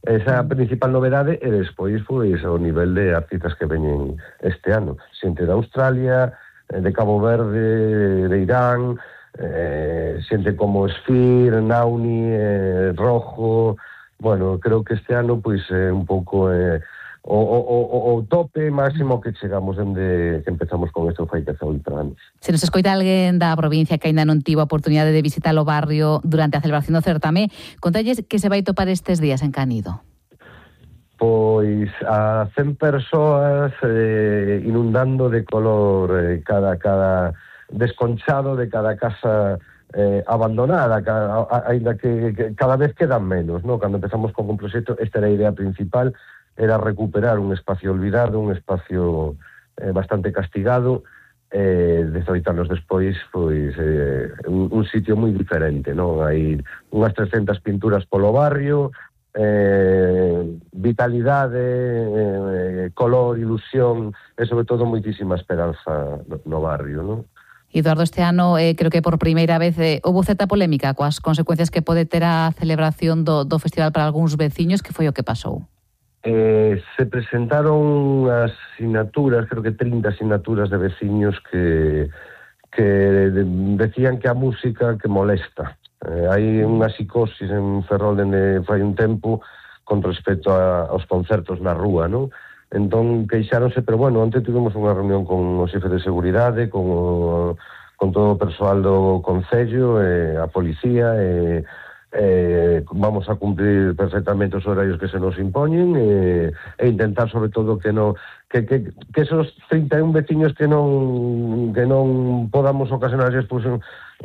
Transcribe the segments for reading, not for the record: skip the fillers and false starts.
Esa é a principal novedade, e despois pois o nivel de artistas que veñen este ano, xente de Australia, de Cabo Verde, de Irán, xente como Esfir, Nauni, Rojo. Bueno, creo que este ano pois é un pouco o tope máximo que chegamos dende que empezamos con isto fai 18 anos. Se nos escoita alguén da provincia que aínda non tivo a oportunidade de visitar o barrio durante a celebración do certame, contalles que se vai topar estes días en Canido. Pois a 100 persoas inundando de color cada desconchado de cada casa abandonada, ainda que cada vez quedan menos, ¿no? Cando empezamos con un proxecto, esta era a idea principal, era recuperar un espacio olvidado, un espacio bastante castigado, 18 anos despois, pois un sitio moi diferente, non? Hai unhas 300 pinturas polo barrio, vitalidade, color, ilusión e sobre todo moitísima esperanza no barrio, non? Eduardo, este ano creo que por primeira vez houve certa polémica coas consecuencias que pode ter a celebración do festival para algúns veciños. Que foi o que pasou? Se presentaron as sinaturas, creo que 30 sinaturas de veciños que decían que a música que molesta. Hai unha psicosis en Ferrol dende fai un tempo con respecto aos concertos na rúa, non? Entón queixáronse, pero bueno, onte tivemos unha reunión con o xefe de seguridade, con todo o persoal do Concello, a policía, vamos a cumprir perfectamente os horarios que se nos impoñen e intentar sobre todo que esos 31 veciños que non podamos ocasionar despois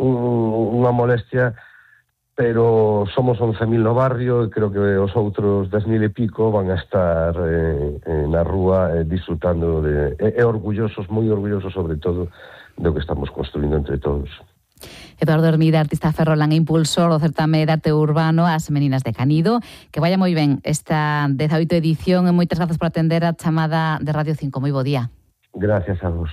unha molestia, pero somos 11.000 no barrio e creo que os outros 10.000 e pico van a estar na rúa disfrutando e orgullosos, moi orgullosos sobre todo do que estamos construindo entre todos. Eduardo Hermida, artista ferrolán e impulsor do certame de arte urbano As Meninas de Canido. Que vaya moi ben esta 18ª edición e moitas grazas por atender a chamada de Radio 5. Moi bo día. Gracias a vos.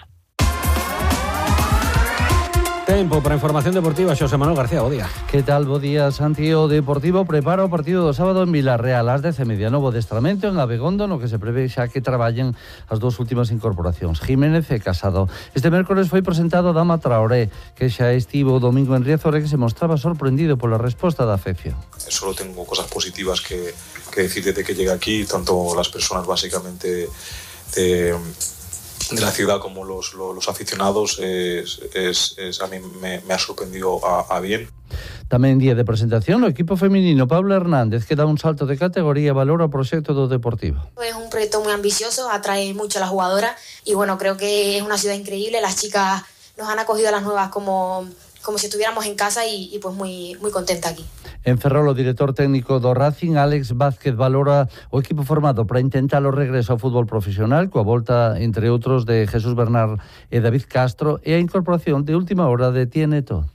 Tempo para a información deportiva, Xosé Manuel García, bo día. Que tal, bo día, Santi? O Deportivo prepara o partido do sábado en Vilarreal ás 10:30, novo adestramento en Abegondo, no que se prevé xa que traballen as dúas últimas incorporacións, Jiménez e Casado. Este mércores foi presentado Dama Traoré, que xa estivo o domingo en Riazor e que se mostraba sorprendido pola resposta da afección. Solo tengo cosas positivas que decir desde que llegué aquí, tanto las personas básicamente de la ciudad como los aficionados, a mí me ha sorprendido a bien. Tamén día de presentación, o equipo feminino Pablo Hernández, que dá un salto de categoría, valora o proxecto do Deportivo. Es un proyecto muy ambicioso, atrae mucho a las jugadoras y bueno, creo que es una ciudad increíble. Las chicas nos han acogido a las nuevas como si estuviéramos en casa y pues muy contenta aquí. En Ferrol, o director técnico do Racing, Alex Vázquez, valora o equipo formado para intentar o regreso ao fútbol profesional, coa volta, entre outros, de Jesús Bernard e David Castro, e a incorporación de última hora de Tieneto.